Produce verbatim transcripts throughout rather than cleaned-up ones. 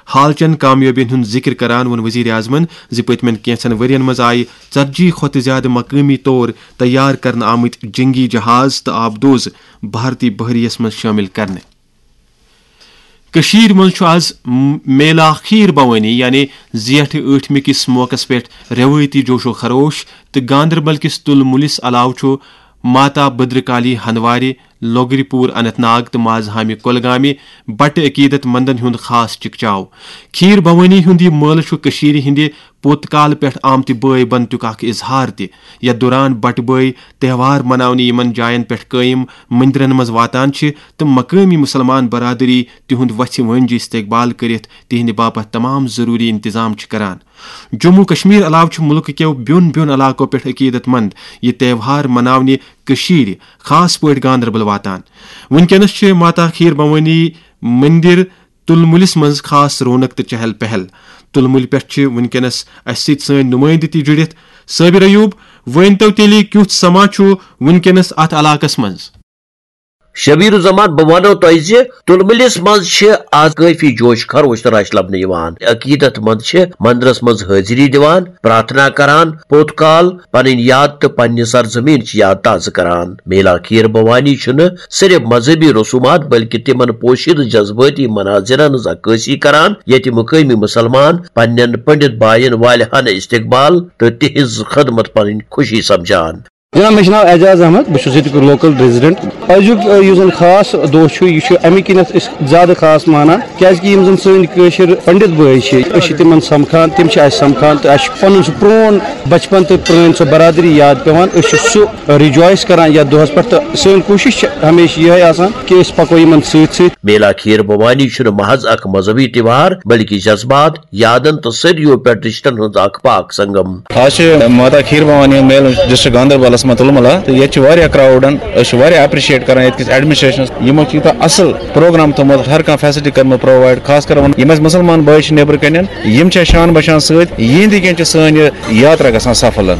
حالچن کامیٲبین ہُنٛد ذِکر کران ووٚن وزیر اعظمن زِ پٔتمٮ۪ن کینٛژن ؤرین منٛز آیہِ ژتجی کھۄتہٕ زِیٛادٕ مقٲمی طور تیار کرنہٕ آمٕتۍ جنگی جہاز تہٕ آبدوز بھارتی بحریہ یَس منٛز شٲمِل کرنہٕ۔ کٔشیٖرِ منٛز چھُ آز م-، میلا کھیٖر بھوٲنی یعنی زیٹھ ٲٹھمہِ کِس موقعس پٮ۪ٹھ رٮ۪وٲیتی جوش و خروش، تہٕ گاندربل کِس تُل مُلِس علاوٕ چھُ ماتا بدرکالی ہندوارِ، لوگری پوٗر اننت ناگ تہٕ مازہامہِ کۄلگامہِ بٹہٕ عقیدت مندن ہُنٛد خاص چکچاو۔ کھیٖر بھوٲنی ہُنٛد یہِ مٲلہٕ چھُ کٔشیٖرِ ہٕنٛدِ پوٚت کالہٕ پٮ۪ٹھ آمتہِ بٲے بنتُک اکھ اظہار تہِ۔ یتھ دوران بٹہٕ بٲے تہوار مناونہِ یِمن جاین پٮ۪ٹھ قٲیِم مندرن منٛز واتان چھِ تہٕ مقٲمی مُسلمان برادری تِہُنٛد وژھِ وٲنجہِ استقبال کٔرِتھ تِہنٛدِ باپتھ تمام ضروٗری انتظام چھِ کران۔ جموں کشمیر علاوٕ چھِ مُلکہٕ کٮ۪و بیوٚن بیوٚن علاقو پٮ۪ٹھ عقیدت مند یہِ تہوار مناونہِ کٔشیٖرِ، خاص پٲٹھۍ گاندربل واتان۔ وٕنکیٚنَس چھِ ماتا کھیٖر بھوٲنی مندر تُل مُلِس منٛز خاص رونق تہٕ چہل پہل۔ تُل مُلہِ پٮ۪ٹھ چھِ وٕنکیٚنَس اَسہِ سۭتۍ سٲنۍ نُمٲیندٕ تہِ جُڑِتھ۔ صٲبِر ایوب، ؤنۍ تو تیٚلہِ کیُتھ سما چھُ وٕنکیٚنَس اَتھ علاقَس منٛز؟ شبیر الزمان، بہٕ وَنو تۄہہِ زِ تُلمُلِس منٛز چھِ آز کٲفی جوش خروش تہٕ رش لبنہٕ یِوان۔ عقیدت مند چھِ مندرس منٛز حٲضری دِوان، پرارتھنا کران، پوٚت کال پنٕنۍ یاد تہٕ پننہِ سرزمینٕچ یاد تازٕ کران۔ میلا کھیٖر بھوانی چھُنہٕ صرف مذہبی رسومات بلکہِ تِمن پوشیدٕ جذبٲتی مناظرن ہٕنٛز عکٲسی کران، ییٚتہِ مقٲمی مُسلمان پننٮ۪ن پنڈت باین والہانہٕ استقبال تہٕ تِہنٛز خدمت پنٕنۍ خوشی سمجھان۔ جناب، مےٚ چھُ ناو اعجاز احمد، بہٕ چھُس ییٚتیُک لوکل ریزیڈنٹ۔ أزیُک، آ، یُس زن خاص دۄہ چھُ، یہِ چھُ اَمہِ کِنٮ۪تھ أسۍ زیادٕ خاص مانان، کیازِ کہِ یِم زن سٲنۍ کٲشِر پنڈت بٲے چھِ، أسۍ چھِ تِمن سمکھان، تِم چھِ اَسہِ سمکھان تہٕ اَسہِ چھُ پنُن سُہ پرون بچپن تہٕ پرٲنۍ سۄ برادری یاد پٮ۪وان۔ أسۍ چھِ سُہ ریجوائس کران یتھ دۄہس پٮ۪ٹھ تہٕ سٲنۍ کوٗشش چھِ ہمیشہِ یِہے آسان کہِ أسۍ پکو یِمن سۭتۍ سۭتۍ۔ میلا کھیٖر بھوانی چھُنہٕ محض اکھ مذہبی تہوار بلکہِ جذبات، یادن تہٕ صدیو پٮ۪ٹھ رشتن ہُنٛد اکھ پاک سنگم۔ آز چھِ ماتا کھیٖر بھوانی ہُنٛد میلہٕ ڈسٹرکٹ گاندربلس منٛز تُلمُلہ، تہٕ ییٚتہِ چھِ واریاہ کراوڈن، أسۍ چھِ واریاہ اپریشیٹ کران ییٚتہِ کِس ایڈمنسٹریشنس، یِمو چھِ یوٗتاہ اصل پروگرام تھوٚومُت، ہر کانٛہہ فیسلٹی کٔرمٕژ پرووایڈ، خاص کر وۄنۍ یِم اَسہِ مُسلمان بٲے چھِ نیٚبرٕ کنٮ۪ن، یِم چھِ اَسہِ شان بشان سۭتۍ، یِہنٛدِ کِنۍ چھِ سٲنۍ یہِ یاترا گژھان سفل۔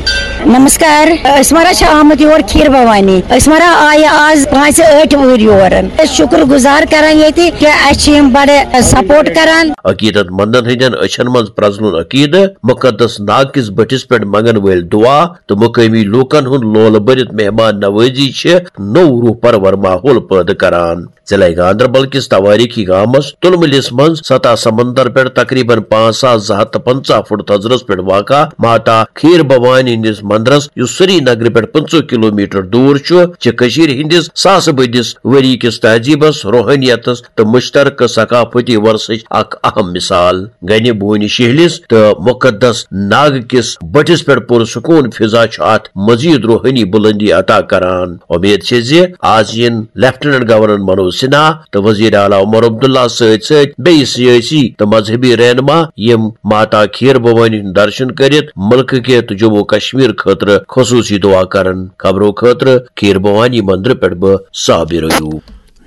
نمسکار، أسۍ مارا چھِ آمٕتۍ یور کھیٖر بھوانی۔ أسۍ مارا آیہِ آز پانٛژِ ٲٹھِ وُہٕرۍ یور۔ أسۍ شُکر گُزار کران ییٚتہِ کہِ اَسہِ چھِ یِم بڑٕ سپورٹ کران۔ عقیدت مندن ہٕنٛدٮ۪ن أچھن منٛز پرٛزلُن عقیدٕ، مُقدس ناگ کِس بٔٹھِس پٮ۪ٹھ منٛگن وٲلۍ دُعا تہٕ مُقٲمی لوٗکن ہُنٛد لولہٕ بٔرِتھ مہمان نوٲزی چھِ نوٚو روح پرور ماحول پٲدٕ کران۔ ضلع گاندربل کِس توٲریٖخی گامس تُلمُلِس منٛز سطح سمندر پٮ۪ٹھ تقریباً پانٛژھ ساس زٕ ہتھ تہٕ پنٛژاہ فُٹ تھزرس پٮ۪ٹھ واقع ماتا کھیٖر بھوانی ہٕنٛدِس مندرس، یُس سری نگرٕ پٮ۪ٹھ پٕنٛژٕہ کلومیٹر دوٗر چھُ، چھِ کٔشیٖرِ ہٕنٛدِس ساسہٕ بٔدِس ؤری کِس تہذیٖبس، روحٲنیتس تہٕ مُشترکہٕ ثقافتی ورثٕچ اکھ اہم مثال۔ گنہِ بونہِ شہلِس تہٕ مُقدس ناگ کِس بٔٹھِس پٮ۪ٹھ پُرسکوٗن فضا چھُ اتھ مزید روحٲنی بُلندی عطا کران۔ اُمید چھِ زِ آز یِن لیفٹیننٹ گورنر منوج سنہا تہٕ وزیر اعلیٰ عمر عبداللہ سۭتۍ سۭتۍ بیٚیہِ سیٲسی تہٕ مذہبی رہنما، یِم ماتا کھیٖر بھوانی ہُنٛد درشن کٔرِتھ مُلکہٕ کہِ تہٕ جموں کشمیر خٲطرٕ خصوٗصی دُعا کرن۔ خبرو خٲطرٕ کھیٖر بھوانی مندرٕ پٮ۪ٹھ بہٕ صابر ایوب۔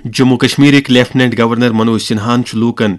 جموں کشمیرٕکۍ لیفٹیننٹ گورنر منوج سنہاہن چھُ لوٗکن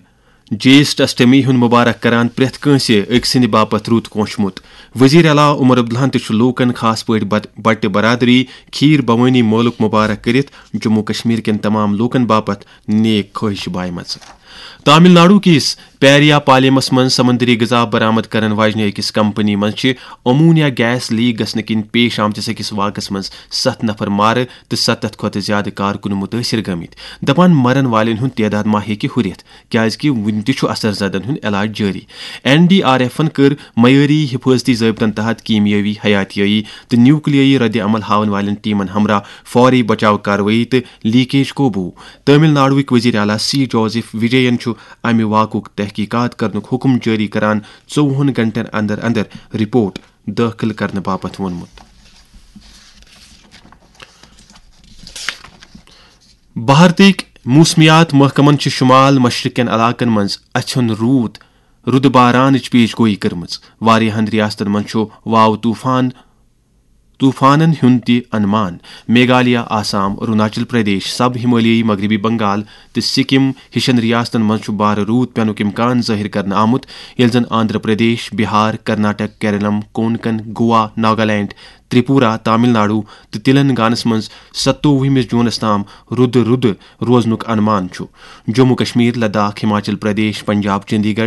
جیسٹ اشٹمی ہُنٛد مبارک کران پرٛٮ۪تھ کٲنٛسہِ أکۍ سٕنٛدِ باپتھ رُت کونٛچھمُت۔ وزیر اعلیٰ عمر عبداللہن تہِ چھُ لوٗکن، خاص پٲٹھۍ بٹ-، بٹہِ برادری، کھیٖر بھوٲنی مٲلُک مبارک کٔرِتھ جموں کشمیر کٮ۪ن تمام لوٗکن باپتھ نیک خٲہِش بایمژٕ۔ تامل ناڈو کِس پیریا پالیمس منٛز سمندری غذا برآمد کرن واجنہِ أکِس کمپنی منٛز چھِ امونیا گیس لیک گژھنہٕ کِنۍ پیش آمتِس أکِس واقعس منٛز ستھ نفر مارٕ تہٕ ستتھ کھۄتہٕ زیادٕ کارکُن مُتٲثر گٔمٕتۍ۔ دپان، مرن والٮ۪ن ہُنٛد تعداد ما ہیٚکہِ ہُرِتھ، کیازِ کہِ وُنہِ تہِ چھُ اثر زدن ہُنٛد علاج جٲری۔ این ڈی آر ایفن کٔر معیٲری حفاظتی ضٲبطن تحت کیمیٲوی، حیاتیٲیی تہٕ نیوکلیٲیی رد عمل ہاون والٮ۪ن ٹیمن ہمراہ فوری بچاو کاروٲیی تہٕ لیکیج قوبوٗ۔ تامل ناڈوٕکۍ وزیر اعلیٰ سی جوزف وجین چھُ امہِ واقعُک تحقیقات کرنُک حکم جٲری کران، ژوٚوُہن گھنٹن اندر اندر رپورٹ دٲخل کرنہٕ باپتھ ووٚنمُت۔ بھارتٕکۍ موسمیات محکمن چھِ شمال مشرق کٮ۪ن علاقن منٛز اَژھُن روٗد، رُدٕ بارانٕچ پیش گویی کٔرمٕژ۔ واریاہن ریاستن منٛز چھُ واو طوفان، طوفانن ہُنٛد تہِ انمان۔ میگھالیہ، آسام، اروناچل پردیش، سب ہمالیائی مغربی بنگال تہٕ سکم ہِشن ریاستن منٛز چھُ بارٕ روٗد پینُک امکان ظٲہِر کرنہٕ آمُت، ییٚلہِ زن آندھرا پردیش، بہار، کرناٹک، کیرلم، کونکن، گوا، ناگالینڈ، تریپورہ، تامل ناڈو تہٕ تلنگانس منٛز ستووُہمِس جوٗنس تام رُدٕ رُدٕ روزنُک انمان چھُ۔ جموں کشمیر، لداخ، ہماچل پردیش، پنجاب، چندی گڑھ،